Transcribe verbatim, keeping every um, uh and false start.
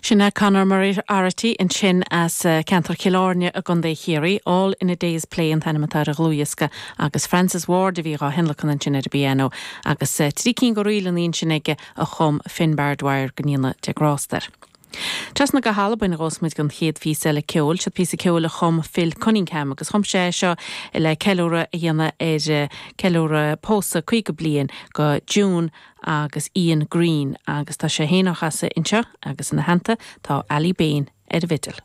Sin é Conor Moriarty ansin as uh, ceantar Chill Airne i gContae Chiarraí, All in a Day's Play an t-ainm atá ar an dlúthdhiosca agus Francis Ward a bhí á thionlacan ansin ar an bpianó agus uh, trí cinn de ríleanna ansin aige a chum Finbar Dwyer go ndéana Dia grást air. Trasna go hAlbain a ghabhfas muid don chéad phíosa eile ceoil, seo píosa ceoil a chum Phil Cunningham agus chum sé seo le ceiliúradh a dhéanamh ar eh, ceiliúradh pósadh caoga bliain go June agus Ian Green agus tá sé féin á chasadh anseo agus ina theannta tá Ali Bain ar an bhfidil.